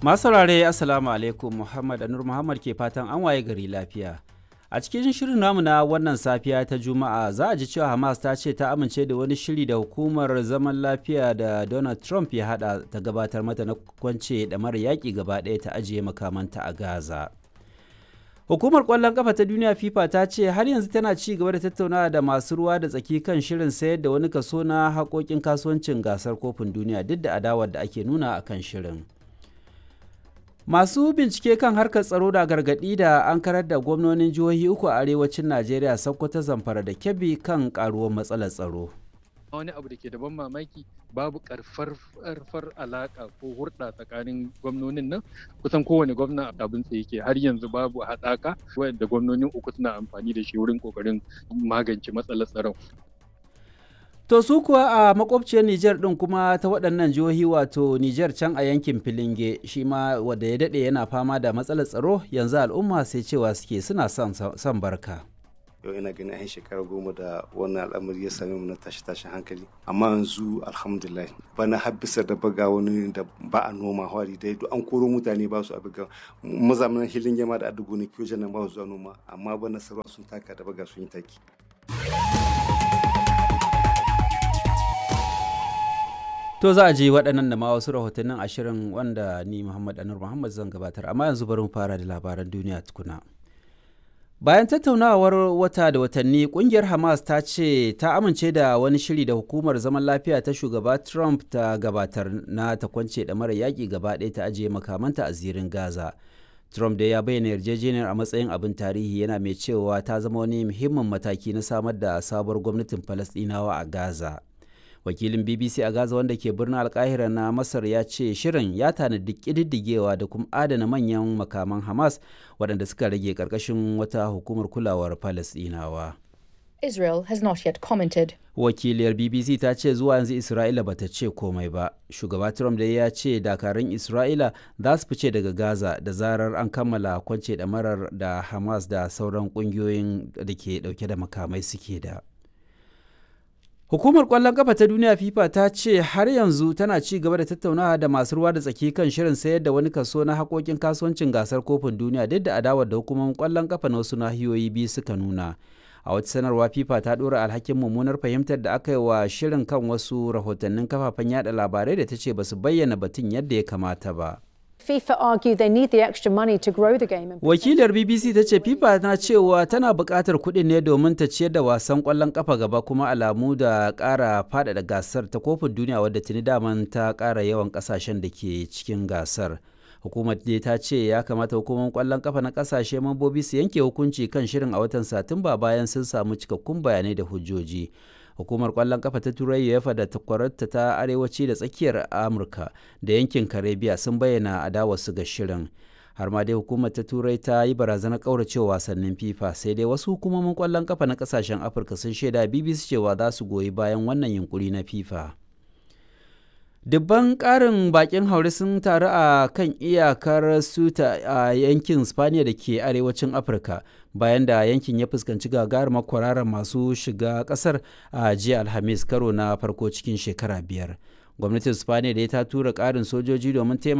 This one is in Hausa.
Masu saurare, Assalamu alaikum. Muhammad Anur Muhammad ke fatan an waye gari lafiya. A cikin shirin namu na wannan safiya ta Juma'a, za a ji cewa Hamas ta ce ta amince da wani shiri da hukumar zaman lafiya da Donald Trump ya hada ta gabatar mata na kwance da mara yaƙi gaba ɗaya ta ajiye makamanta a Gaza. Hukumar ƙwallon ƙafa ta duniya FIFA ta ce har yanzu tana ci gaba da tattaunawa da masu ruwa da tsaki kan shirin sayar da wani kaso na haƙoƙin kasuwancin gasar kofin duniya, duk da adawar da ake nuna a kan shirin. Masu bincike kan harkar tsaro da gargaɗi da an karar da gwamnonin jihohi uku a arewacin Najeriya, Sokoto, Zamfara da Kebbi, kan karuwar matsalar tsaro. Wani abu da ke da ban mamaki, babu karfar alaka ko hurɗa tsakanin gwamnonin nan. Kusan kowane gwamna abin tsaye yake. Har yanzu babu haɗaka wanda gwamnonin uku suna amfani da shi wurin kokarin magance matsalar tsaron. To su kuwa a makwabciyar Nijar ɗin kuma ta waɗannan jihohi, wato Nijar can a yankin Filinge, shi ma wanda ya daɗe yana fama da matsalar tsaro, yanzu al'umma sai cewa suke suna son barka. Yau ina ganin an shekara 10 da wannan al'amari ya same mu na tashi tashin hankali, amma yanzu alhamdulillah, bana har bisa da baga wani da ba a noma hwari dai duk an koro mutane ba su a buga mazamanin hilin yama da adugo ne kiyo nan ba su zuwa noma, amma bana sarwa sun taka da baga sun yi taki. To za a ji waɗannan da ma wasu rahotannin ashirin wanda ni Muhammad Anur Muhammad zan gabatar, amma yanzu bari mu fara da labaran duniya tukuna. Bayan tattaunawar wata da watanni, kungiyar Hamas ta ce ta amince da wani shiri da hukumar zaman lafiya ta shugaba Trump ta gabatar na ta kwance da mara yaƙi gaba ɗaya ta ajiye makamanta a zirin Gaza. Trump da ya bayyana yarjejeniyar a matsayin abin tarihi, yana mai cewa ta zama wani muhimmin mataki na samar da sabuwar gwamnatin Falasɗinawa a Gaza. Wakilin BBC a Gaza wanda ke birnin Alkahira na Masar ya ce shirin ya tanadi ƙididdigewa da kuma adana manyan makaman Hamas waɗanda suka rage ƙarƙashin wata hukumar kulawar Falasɗinawa. Israel has not yet commented. Wakiliyar BBC ta ce zuwa yanzu Isra'ila bata ce komai ba. Shugaba Trump da ya ce dakarun Isra'ila za su fice daga Gaza da zarar an kammala kwance ɗamarar da Hamas da sauran ƙungiyoyin da ke ɗauke da makamai suke da. Hukumar ƙwallon ƙafa ta duniya FIFA ta ce har yanzu tana ci gaba da tattaunawa da masu ruwa da tsaki kan shirin sayar da wani kaso na haƙoƙin kasuwancin gasar kofin duniya, duk da adawar da hukumomin ƙwallon ƙafa na wasu nahiyoyi biyu suka nuna. A wata sanarwa, FIFA ta ɗora alhakin mummunar fahimtar da aka yi wa shirin kan wasu rahotannin kafafen yada labarai da ta ce ba su bayyana batun yadda ya kamata ba. FIFA argue they need the extra money to grow the game. Wakilar BBC ta ce FIFA na cewa tana buƙatar kuɗin ne domin ta ciyar da wasan ƙwallon ƙafa gaba, kuma alamu da ƙara faɗaɗa gasar ta kofin duniya, wadda tuni daman ta ƙara yawan ƙasashen da ke cikin gasar. Hukumar dai ta ce ya kamata hukumar ƙwallon ƙafa na ƙasashe mambobi su yanke hukunci kan shirin a watan Satumba bayan sun samu cikakkun bayanai da hujjoji. Hukumar kwallon kafa ta Turai UEFA da takwararta ta arewaci da tsakiyar Amurka da yankin Karibiya sun bayyana adawarsu ga shirin. Har ma dai hukumar ta Turai ta yi barazanar kauracewa wasannin FIFA. Sai dai wasu hukumomin kwallon kafa na kasashen Afirka sun shaida BBC cewa za su goyi bayan wannan yunkuri na FIFA. Dubban ƙarin bakin haure sun taru a kan iyakar Suta a yankin Spaniya da ke arewacin Afirka, bayan da yankin ya fuskanci gagarumar kwararar masu shiga ƙasar a jiya Alhamis, karo na farko cikin shekara 5. Gwamnatin Spaniya da ta tura ƙarin sojoji domin taimaka